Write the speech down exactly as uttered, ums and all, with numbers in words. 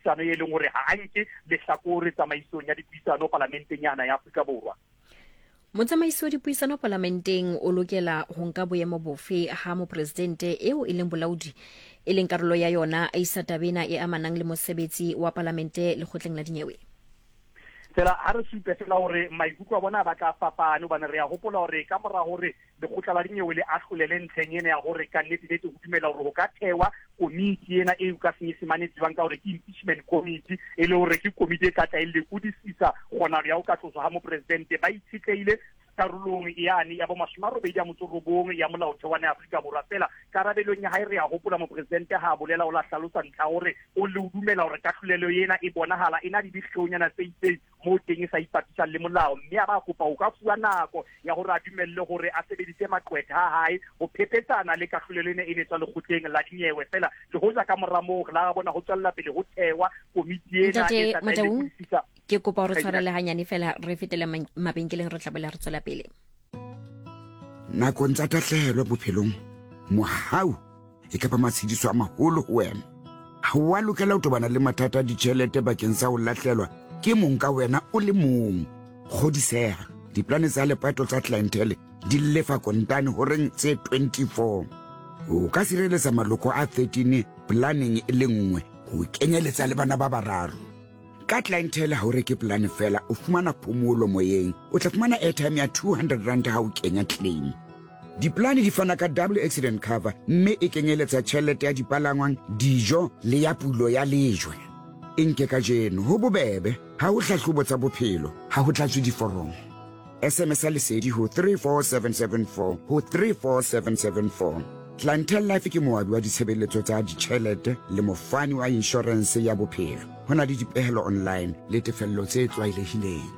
dipuisano e leng hore ha a nke lehlakore tsamaisong ya dipuisano palamenteng yana ya Afrika Borwa. Motsamaisi wa dipuisano palamenteng o lokela ho nka boemo bofe ha mopresidente eo e leng bolaodi e leng karolo ya yona a isa taba ena e amanang le mosebetsi wa palamente lekgotleng la dinyewe? Fela ha re supe fela hore maikutlo a bona a batla a fapane, hobane re a hopola hore ka mora hore lekgotla la dinyewe le ahlolele ntlheng ena ya hore ka nnete nnete ho dumela hore ho ka thewa komiti ena eo ka Senyesemane e tsebang ka hore ke impeachment committee, e le hore ke komiti e ka tla e lekodisisa kgonahalo ya ho ka tloswa ha mopresidente. Ba itshetlehile karolong yane ya bo mashome a robedi a motso robong ya molaotheo wa Afrika Borwa. Fela karabelong ya hae re a hopola mopresidente ha a bolela o la hlalosa ntlha hore o le o dumela hore kahlolelo ena e bonahala e na le dikgeonyana tse itseng moo teng e sa ipapisang le molao, mme a ba kopa ho ka fuwa nako ya hore a dumelle hore a sebedise maqwetha a hae ho phepetsana le kahlolelo ena e ne tswa lekgotleng la dinyewe. Fela le hoja ka mora moo re la bona ho tswella pele ho thewa komiti ena Ntate e tla tla e Motaung, lekodisisa. Ke kopa hore tshwarele hanyane fela re fetele mabenkeleng, re tla boela re tswela pele. Nakong tsa tahlehelo bophelong, mohau e ka ba matshediso a maholo ho wena. Ha wa lokela ho tobana le mathata a ditjhelete bakeng sa ho lahlelwa ke mong ka wena o le mong. Kgodiseha, diplane tsa lepato tsa Clientele di lefa kontane horeng tse twenty-four. O ka sireletsa maloko a thirteen planeng e le nngwe, ho kenyeletsa le bana ba bararo. Ka Clientele ha o reke plane fela, o fumana phomolo moyeng. O tla fumana airtime ya two hundred rand ha o kenya claim. Diplane di fana ka double accident cover, mme e kenyeletsa tjhelete ya dipalangwang, dijo le ya pulo ya lejwe. E nke kajeno, ho bobebe, ha ho hlahlobo tsa bophelo, ha ho tlatswe diforomo. S M S ya lesedi ho three four seven seven four ho three four seven seven four. Clientele Life ke moabi wa ditshebeletso tsa ditjhelete le mofani wa inshorense ya bophelo. Ho na le dipehelo online le tefello tse tlwaelehileng.